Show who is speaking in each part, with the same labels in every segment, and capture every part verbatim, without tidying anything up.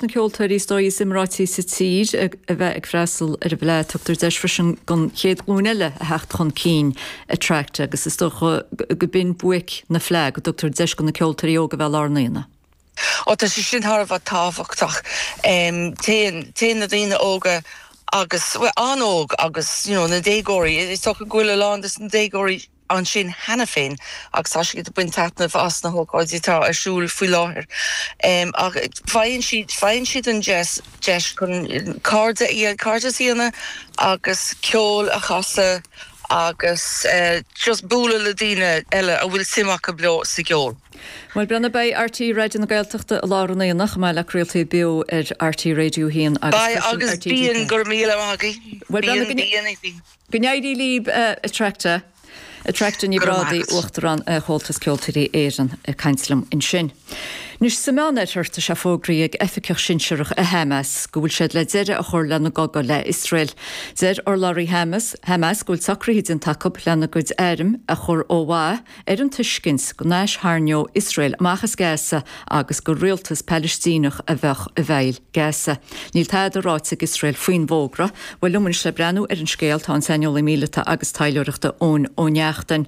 Speaker 1: Na ceoltóirí is dóigh is iomráití sa tír a bheith ag freastal ar an bhFleadh, tugtar deis freisin don chéad ghlúin eile a theacht chun cinn, Attracta, agus is dócha go b'in buaic na Fleadh, go dtugtar deis do na ceoltóirí óga bheith i lár an aonaigh.
Speaker 2: Ó, tá sé sin thar a bheith tábhachtach. Téann téann na daoine óga agus, bhuel, an-óg agus you know na déagóirí, is dócha go bhfuil a lán de na déagóirí ansin cheana féin agus tá siad ag baint taitneamh as na hócáidí atá ar siúl faoi láthair. Ach faigheann siad faigheann siad an deis deis chun cairde cairdeas a dhéanamh agus ceol a chasadh agus just bualadh le daoine eile a bhfuil suim acu leo sa gceol.
Speaker 1: Bhuel, Brenna, beidh R T É Raidió na Gaeltachta i lár an aonaigh, chomh maith le craoltaí beo ar R T É Radio a haon agus
Speaker 2: Beidh agus bíonn, go raibh míle maith agaibh.
Speaker 1: Bhuel, Brenna, go n-éirí libh, Attracta. Attracta Ní Bhrádaigh, Uachtarán Chomhaltas Ceoltóirí Éireann, ag caint liom ansin. Anois, sa Meánoirthear, tá sé fógraithe ag oifigeach sinsearach i Hamas go bhfuil siad le deireadh a chur lena gcogadh le Iosrael. Deir urlabhraí Hamas Hamas go bhfuil socruithe déanta acu lena gcuid airm a chur ó mhaith ar an tuiscint go n-aistharraingeodh Iosrael amach as Gaza agus gur rialtas Palaistíneach a bheadh i bhfeighil Gaza. Níl tada ráite ag Iosrael faoin bhfógra. Bhuel, liom anois le breathnú ar an scéal tá an saineolaí míleata agus taidhleoireachta Eoin Ó Neachtain.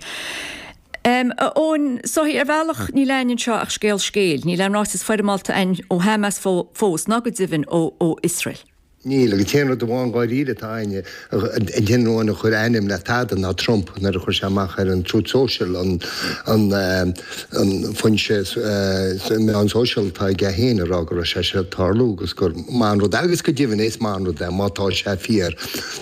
Speaker 1: Um, Eoin, so ar bhealach níl ann anseo ach scéal scéil, níl aon ráiteas foirmeálta ann ó Hamas fós ná go deimhin ó ó Iosrael.
Speaker 3: Níl, agus an t-aon rud amháin dáiríre atá ann, an t-aon rud a chuir ainm le tada ná Trump nuair a chuir sé amach ar an Truth Social, an an an foinse meán sóisialta atá aige féin, a rá go raibh sé seo ag tarlú agus gur maith an rud é, agus go deimhin is maith an rud é má tá sé fíor.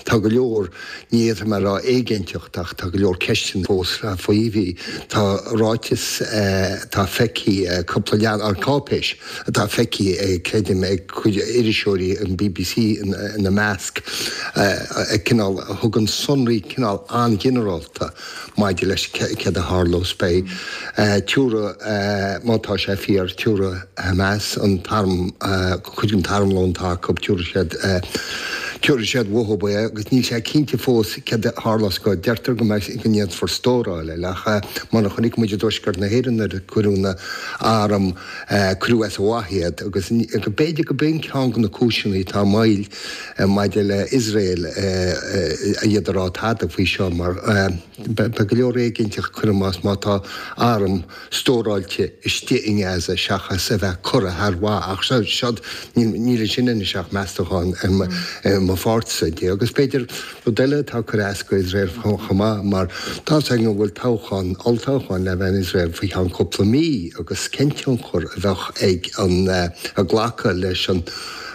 Speaker 3: Tá go leor, ní fhéadfaidh mé a rá éiginnteacht, ach tá go leor ceisteanna fós faoi. Bhí tá ráiteas atá feicthe, cúpla leathanach, cáipéis atá feicthe, creidim, ag cuid iriseoirí an B B C ina measc, cineál a thugann sonraí cineál an-ghinearálta maidir leis céard a tharlós. Beidh tabharfaidh, má tá sé fíor, tabharfaidh Hamas an t-arm, cuid den t-armlón atá acu, tabharfaidh siad tabharfaidh siad uathu é agus níl sé cinnte fós céard a tharlós go deirtear go mbeidh go ndéanfar stóráil air, ach mar a chonaic muid i dtuaisceart na hÉireann nuair a cuireadh na hairm, cuireadh as a mhaith iad, agus go b'fhéidir go b'in ceann de na cúiseanna atá moill maidir le Iosrael iad a rá tada faoi seo, mar beidh go leor éiginnteacht, cuirim as, má tá arm stóráilte istigh i nGaza seachas a bheith curtha thar mhaith. Ach seo, níl ansin anois ach meastachán ar mo pháirtsa de. Agus b'fhéidir rud eile atá ag cur as go Iosrael chomh maith, mar tá a fhios againn go bhfuil toghchán, olltoghchán le bheith in Iosrael faoi cheann cúpla mí, agus cén tionchar a bheadh ag an a glacadh leis an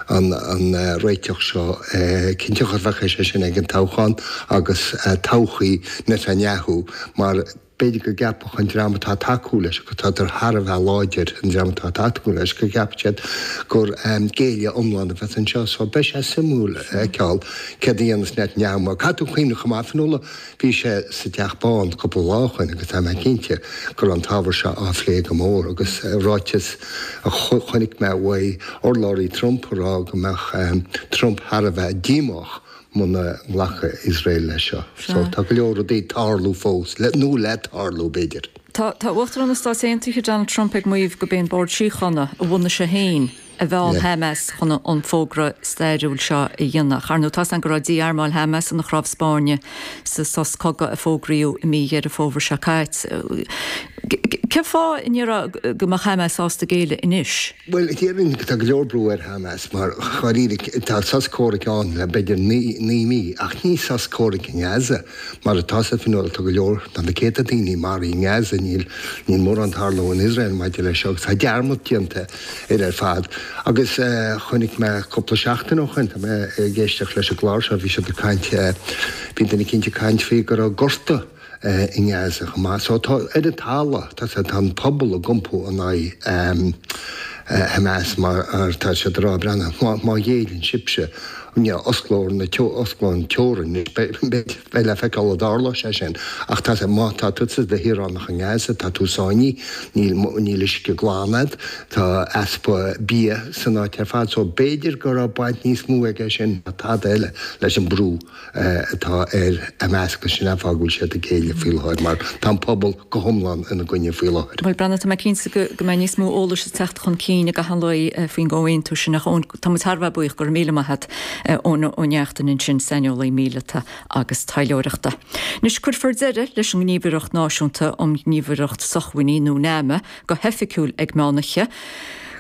Speaker 3: an an réiteach seo, cén tionchar a bheadh sé sin ag an toghchán agus todhchaí Netanyahu, mar b'fhéidir go gceapfadh an dream atá ag tacú leis, agus tá thar a bheith láidir, an dream atá ag tacú leis, go gceapfadh siad gur géilleadh iomlán a bheas anseo. So beidh sé suimiúil a fheiceáil céard a dhéanas Netanyahu, mar caithfidh tú cuimhneamh chomh maith, Fionnuala, bhí sé sa dTeach Bán cúpla lá ó shin agus tá mé cinnte go raibh an t-ábhar seo á phlé go mór, agus ráiteas a chonaic mé uaidh, urlabhraí Trump, a rá go mbeadh Trump thar a bheith díomách muna nglacfadh Iosrael leis seo. So tá go leor rudaí ag tarlú fós, nó le tarlú b'fhéidir.
Speaker 1: Tá tá Uachtarán na Stát Aontaithe Donald Trump ag maíomh gurb é an Bord Síochána a bhunaigh sé féin a mheall Hamas chun an fógra stairiúil seo a dhéanamh. Ar ndóigh, tá go raibh dí-armáil Hamas ina chnámh spairne sa sos cogaidh a fógraíodh i mí Dheireadh Fómhair seo caite. Cén fáth an ndéarfá go mbeadh Hamas sásta géilleadh anois?
Speaker 3: Bhuel, déarfainn tá go leor brú ar Hamas, mar dháiríre tá sos comhraic ann le b'fhéidir naoi mí, ach ní sos comhraic i nGaza mar atá sa Fionnuala. Tá go leor, tá na céadta daoine maraithe i nGaza, níl níl mórán ag tarlú in Iosrael maidir leis seo agus tá dearmad déanta ar ar fad. Agus chonaic mé cúpla seachtain ó shin, tá mé ag éisteacht leis an gclár seo, bhí siad ag caint, bhí duine eicínt ag caint faoi go raibh gorta i nGaza chomh maith. So tá ar an talamh, tá tá an pobal ag iompú in aghaidh Hamas, mar tá siad ag rá, breathnaigh, má má ghéilleann sibhse Osclófar na osclófar an teorainn, beidh le feiceáil an dtarlóidh sé sin. Ach tá sé, má tá tusa i do shaoránach i nGaza, tá tú sáinnithe, níl níl uisce glan agat, tá easpa bia san áit ar fad, so b'fhéidir go raibh baint níos mó aige sin ná tada eile leis an brú atá ar Hamas agus sin an fáth go bhfuil siad ag géilleadh faoi láthair mar tá an pobal go hiomlán ina gcoinne faoi láthair.
Speaker 1: Bhuel, Breandán, tá mé cinnte go go mbeidh níos mó eolais ag teacht chun cinn i gcaitheamh an lae faoin gcomhaontú sin ach tá muid thar a bheith buíoch, go raibh míle maith agat. Eoin Ó Neachtain ansin, saineolaí míleata agus taidhleoireachta. Anois cuirfear deireadh leis an nGníomhaireacht Náisiúnta um Ghníomhaireacht Sócmhainní nó NAMA go hoifigiúil ag meánoíche.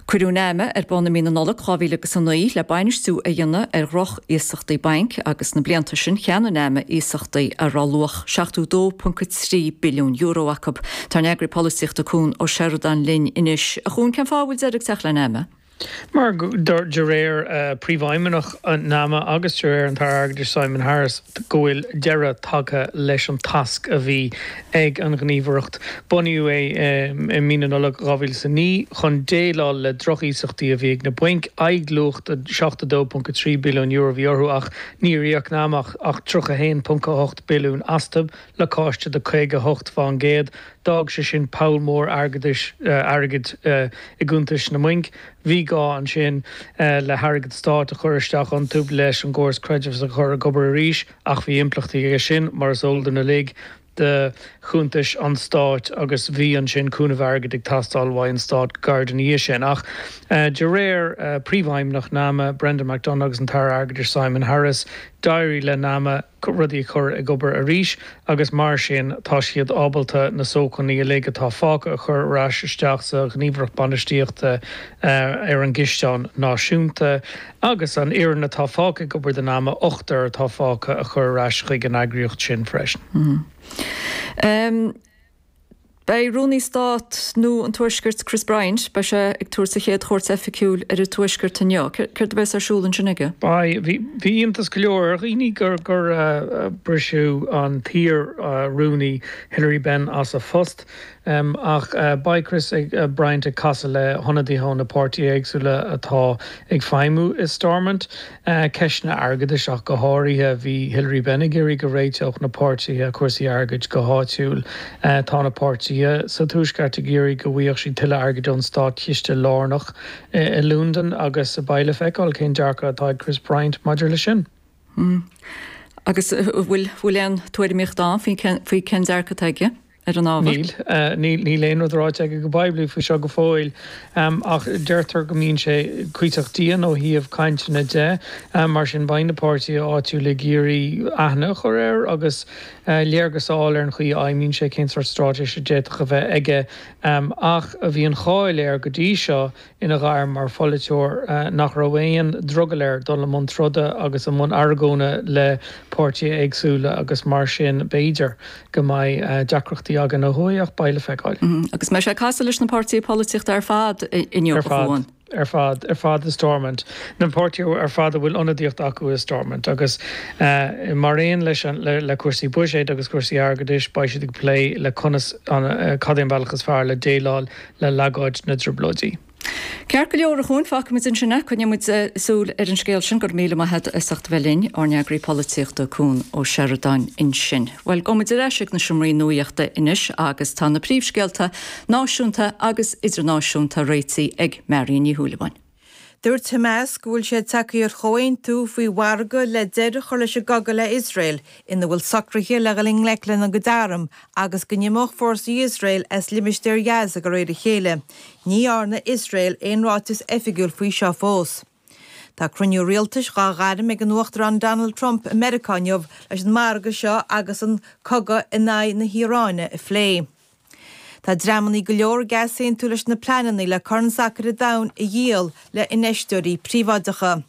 Speaker 1: Cuireadh NAMA ar bun i mí na Nollag dhá mhíle agus a naoi le bainistiú a dhéanamh ar dhroch-iasachtaí bainc agus sna blianta sin cheannaigh NAMA iasachtaí a raibh luach seachtó dó ponc a trí billiún euro acu. Tá ár n-eagraí polaitíochta Cuan Ó Seireadáin linn anois. A Chuain, cén fáth a bhfuil deireadh ag teacht le NAMA?
Speaker 4: Mar de réir Príomhfheidhmeannach NAMA agus de réir an tAire Airgeadais Simon Harris go bhfuil deireadh tagtha leis an tasc a bhí ag an ghníomhaireacht. Bunaíodh é i mí na Nollag dhá mhíle is a naoi chun déileáil le drochiasachtaí a bhí ag na bainc. Aghaidhluach de seachtó dó ponc a trí billiún euro a bhí orthu ach níor íoc NAMA ach tríocha a haon ponc a hocht billiún astu, lacáiste de caoga a hocht fán gcéad. D'fhág sé sin poll mór airgeadais, airgid i gcuntais na mbainc. Bhí gá ansin le hairgead stáit a chur isteach iontu leis an gcóras creidmheasa a chur ag obair arís ach bhí impleachtaí aige sin, mar is eol dúinn uilig, do chuntais an stáit agus bhí ansin cúnamh airgid ag teastáil uaidh an stát go gairid ina dhiaidh sin. Ach de réir Príomhfheidhmeannach NAMA, Brendan McDonagh agus an tAire Airgeadais Simon Harris, d'éirigh le NAMA rudaí a chur ag obair arís agus mar sin tá siad ábalta na sócmhainní uilig atá fágtha a chur ar ais isteach sa Ghníomhaireacht Bainistíochta ar an gCisteán Náisiúnta agus an fhoireann atá fágtha ag obair do NAMA, ochtar atá fágtha, a chur ar ais chuig an eagraíocht sin freisin.
Speaker 1: Beidh Rúnaí Stáit nua an Tuaiscirt Chris Bryant, beidh sé ag tabhairt a chéad chuairt oifigiúil ar an Tuaisceart inniu. Céard a bheas ar siúl ansin aige?
Speaker 4: Beidh. Bhí iontas go leor ar dhaoine gur gur briseadh an t-iar-rúnaí Hilary Benn as a phost. Ach beidh Chris Bryant ag casadh le hionadaithe ó na páirtithe éagsúla atá ag feidhmiú i Stormont. Ceisteanna airgeadais ach go háirithe. Bhí Hilary Benn ag iarraidh go réiteodh na páirtithe cúrsaí airgid go háitiúil. Tá na páirtithe sa Tuaisceart ag iarraidh go bhfaigheadh siad tuilleadh airgid ón státchiste lárnach i Londain agus beidh le feiceáil cén dearcadh atá ag Chris Bryant maidir leis sin.
Speaker 1: Agus bhfuil bhfuil aon tuairimíocht ann faoi cén dearcadh atá aige? ar an ábhar?
Speaker 4: Níl. Níl aon rud ráite aige go poiblí faoi seo go fóill, ach deirtear go mbíonn sé cuíosach dian ó thaobh cainteanna de. Mar sin, beidh na páirtithe áitiúla ag iarraidh aithne a chur air agus léargas a fháil ar an chaoi a fheidhmíonn sé, cén sórt straitéis a d'fhéadfadh a bheith aige. Ach bhí an cháil air go dtí seo ina ghairm mar pholaiteoir nach raibh aon drogall air dul i mbun troda agus i mbun argóna le páirtithe éagsúla agus mar sin b'fhéidir go mbeidh deacrachtaí againn ó thuaidh ach beidh le feiceáil.
Speaker 1: Agus mbeidh sé ag casadh leis na páirtithe polaitíochta ar fad inniu,
Speaker 4: a Chuain? Ar fad, ar fad i Stormont. Na páirtithe ar fad a bhfuil ionadaíocht acu i Stormont agus mar aon leis an, le cúrsaí buiséid agus cúrsaí airgeadais, beidh siad ag plé le conas, cad é an bealach is fearr le déileáil le leagáid na dTrioblóidí.
Speaker 1: Ceart go leor, a Chuain, fágfaimid ansin é. Coinneoidh muid súil ar an scéal sin. Go raibh míle maith agat as ucht a bheith linn, ár n-eagraí polaitíochta Cuan Ó Seireadáin ansin. Bhuel, gabhfaidh muid ar ais ag na seomraí nuaíochta anois agus tá na príomhscéalta náisiúnta agus idirnáisiúnta réitithe ag Marion Ní Shúilleabháin.
Speaker 5: Dúirt Hamas go bhfuil siad tagtha ar chomhaontú faoi mhargadh le deireadh a chur leis an gcogadh le Iosrael, ina bhfuil socruithe le dhul i ngleic lena gcuid arm agus go n-imeodh fórsaí Iosrael as limistéar Ghaza de réir a chéile. Ní dhearna Iosrael aon ráiteas oifigiúil faoi seo fós. Tá cruinniú rialtais dhá ghairm ag an Uachtarán Donald Trump i Meiriceá inniu leis an margadh seo agus an cogadh in aghaidh na hIaráine a phlé. Tá dreamannaí go leor ag easaontú leis na pleananna le Corn Sacair an Domhain a dhíol le infheisteoirí príobháideacha.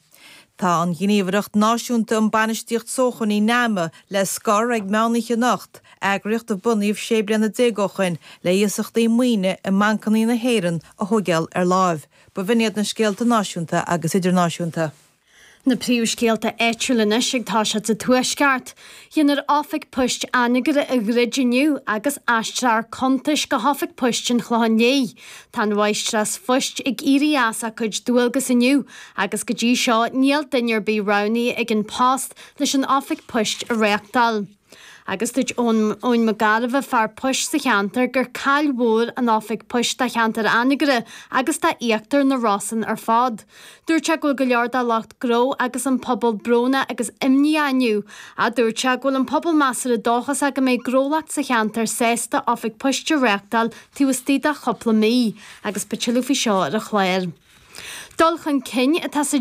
Speaker 5: Tá an Ghníomhaireacht Náisiúnta um Bainistíocht Sócmhainní, NAMA, le scor ag meánoíche anocht, eagraíocht a bunaíodh sé bliana déag ó shoin le iasachtaí maoine i mbancannaí na hÉireann a thóigeáil ar láimh. B'in iad na scéalta náisiúnta agus idirnáisiúnta.
Speaker 6: Na príomhscéalta áitiúla anois ag toiseacht sa Tuaisceart. Déanfar oifig poist Anagaire a dhruid inniu agus aistreofar cuntais go hoifig poist an Chlocháin Léith. Tá an mháistreás phoist ag éirí as a cuid dualgas inniu agus go dtí seo níl duine ar bith roghnaithe ag An Post leis an oifig poist a reáchtáil. Agus dúirt Eoin Mac Gairbheith, fear poist sa cheantar, gur caill mhór an oifig poist do cheantar Anagaire agus do íochtar na Rosann ar fad. Dúirt sé go bhfuil go leor de lucht gnó agus an pobal brónach agus imníoch inniu. A dúirt sé go bhfuil an pobal measartha dóchasach go mbeidh gnólacht sa cheantar sásta oifig poist a reáchtáil taobh istigh de chúpla mí, agus beidh tuilleadh faoi seo ar an chlár. Dul chun cinn atá sa